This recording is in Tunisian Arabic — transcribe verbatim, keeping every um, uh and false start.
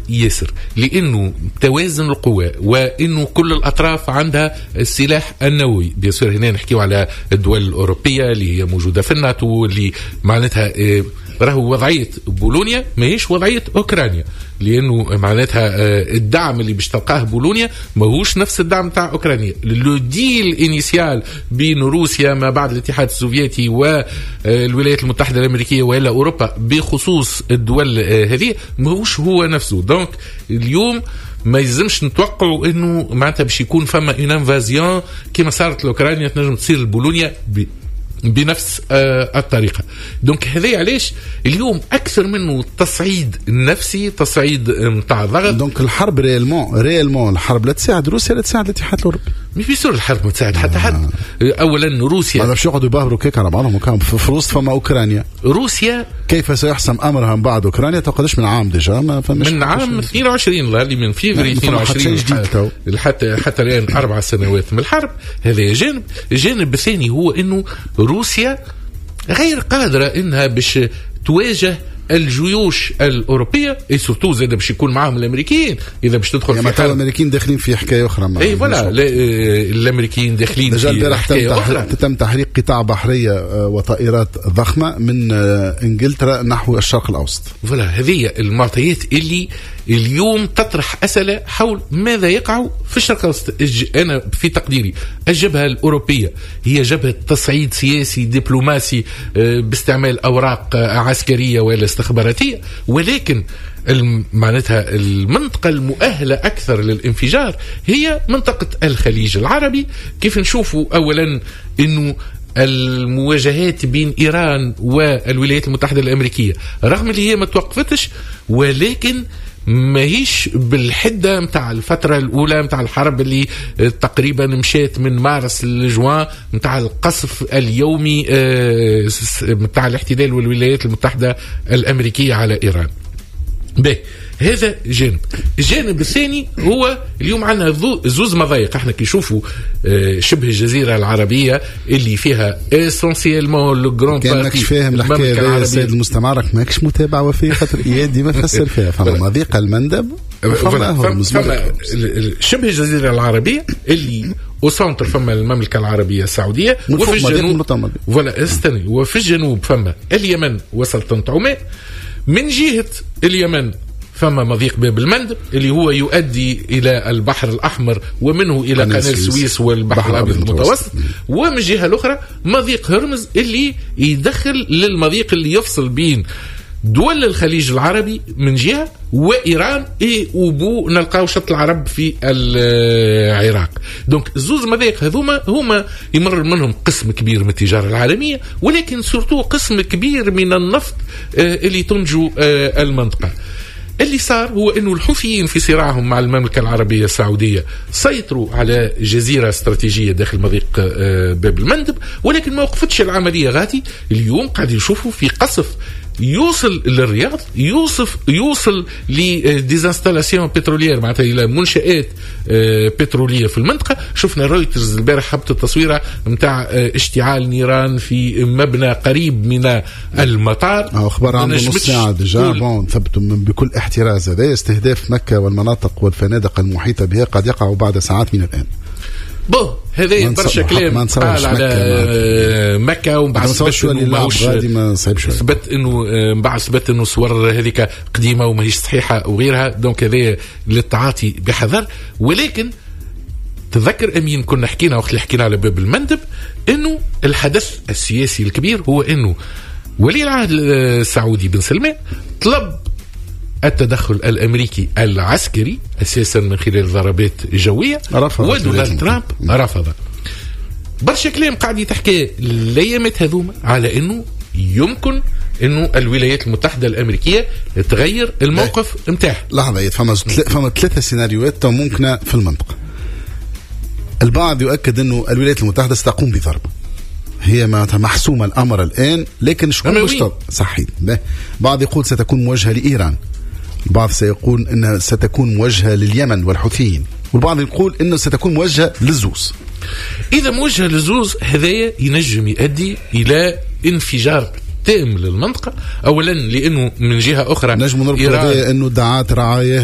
ياسر، لانه توازن القوى وانه كل الاطراف عندها السلاح النووي. bien sûr هنا نحكيو على الدول الاوروبية اللي هي موجودة في الناتو، اللي معناتها آه، راهو وضعية بولونيا ماهيش وضعية اوكرانيا، لانه معناتها آه، الدعم اللي باش تلقاه بولونيا ماهوش نفس الدعم تاع اوكرانيا. le deal initial بين روسيا ما بعد الاتحاد السوفيتي والولايات المتحدة الامريكية والا اوروبا بخصوص الدول آه، هذه ماهوش هو نفسه. donc اليوم ما يلزمش نتوقعوا انه معناتها باش يكون فما une invasion كما صارت لاوكرانيا تنجم تصير لبولونيا بنفس آه الطريقه. donc هذا علاش اليوم اكثر منه تصعيد نفسي، تصعيد نتاع ضغط. donc الحرب réellement réellement الحرب لا تساعد روسيا لا تساعد الاتحاد الاوروبي. مش bien sûr، الحرب ما تساعد حتى حد. آه. اولا روسيا ما باش يقعدوا يبهروا كيك على بعضهم في وسط فما اوكرانيا. روسيا كيف سيحسم امرها من بعد اوكرانيا؟ قداش من عام déjà ما فماش من عام اثنين وعشرين، اللي من فيفري اثنين وعشرين حتى حتى الان اربع سنوات من الحرب. هذا جانب. الجانب الثاني هو انه روسيا غير قادرة انها باش تواجه الجيوش الاوروبيه، et surtout زاد باش يكون معاهم الامريكيين اذا باش تدخل يعني في الامريكيين داخلين في حكاية اخرى. اي voilà، الامريكيين داخلين في حكاية اخرى. تم تحريك قطع بحرية آه، وطائرات ضخمة من آه، انجلترا نحو الشرق الاوسط. voilà، هذه المعطيات اللي اليوم تطرح اسئلة حول ماذا يقع في الشرق الاوسط. انا في تقديري الجبهة الاوروبية هي جبهة تصعيد سياسي دبلوماسي آه، باستعمال اوراق عسكرية ولا استخباراتيه، ولكن معناتها المنطقة المؤهلة أكثر للانفجار هي منطقة الخليج العربي. كيف نشوفوا أولا أنه المواجهات بين إيران والولايات المتحدة الأمريكية رغم اللي هي ما توقفتش، ولكن ماهيش بالحده نتاع الفترة الاولى نتاع الحرب اللي تقريبا مشات من مارس لجوان، نتاع القصف اليومي نتاع الاحتلال والولايات المتحدة الامريكية على ايران. به هذا جانب. الجانب الثاني هو اليوم عندنا زوز مضايق. احنا كي نشوفوا آه، شبه الجزيرة العربية اللي فيها essentiellement le grand كان ماكش فاهم الحكاية يا سيد المستمع، راك ماكش متابع وفي خاطر اياد ديما فسر فيها. فما مضيق المندب. فما شبه الجزيرة العربية اللي au centre فما المملكة العربية السعوديه، وفي الجنوب، voilà استني، وفي الجنوب فما اليمن وسلطنه عمان. من جهة اليمن فما مضيق باب المندب اللي هو يؤدي الى البحر الاحمر ومنه الى قناة السويس والبحر الابيض المتوسط، ومن الجهة الاخرى مضيق هرمز اللي يدخل للمضيق اللي يفصل بين دول الخليج العربي من جهة وايران، et au bout نلقاو شط العرب في العراق. donc زوز مضايق هذوما هما يمر منهم قسم كبير من التجارة العالميه، ولكن surtout قسم كبير من النفط آه، اللي تنتجو آه، المنطقه. اللي صار هو انه الحوثيين في صراعهم مع المملكة العربية السعودية سيطروا على جزيرة استراتيجية داخل مضيق آه، باب المندب، ولكن ما وقفتش العملية غادي. اليوم قاعد يشوفوا في قصف يوصل للرياض، يوصف يوصل ل des installations pétrolières، معناتها الى منشات آه، بتروليه في المنطقه. شفنا رويترز البارح هبطت التصويره نتاع آه، اشتعال نيران في مبنى قريب من المطار. اخبار عنده نص ساعة déjà. bon، ثبتوا بكل احتراز، هذا استهداف مكة والمناطق والفنادق المحيطة بها قد يقع بعد ساعات من الان. bon، هذا برشا كلام قال على مكة، ومن بعد ثبت انه ماهوش ثبت انه من بعد ثبت انه الصور هذيك قديمة وماهيش صحيحه وغيرها. donc هذا للتعاطي بحذر. ولكن تذكر امين كنا حكينا وقت اللي حكينا على باب المندب انه الحدث السياسي الكبير هو انه ولي العهد السعودي بن سلمان طلب التدخل الامريكي العسكري اساسا من خلال ضربات جويه، ودونالد ترامب رفض. برشا كلام قاعد يتحكى الايامات هذوما على انه يمكن انه الولايات المتحدة الامريكية تغير الموقف نتاعها. لحظه، فما فما ثلاثة سيناريوهات ممكنة في المنطقه. البعض يؤكد انه الولايات المتحدة ستقوم بضرب، هي محسومة الامر الان، لكن شكون باش؟ صحيح، بعض يقول ستكون موجهة لايران، البعض سيقول انها ستكون موجهة لليمن والحوثيين، والبعض يقول انه ستكون موجهة للزوز. اذا موجهة للزوز هذايا ينجم يؤدي الى انفجار تام للمنطقه، اولا لانه من جهة اخرى نجم نربط انه دعات رعاياها.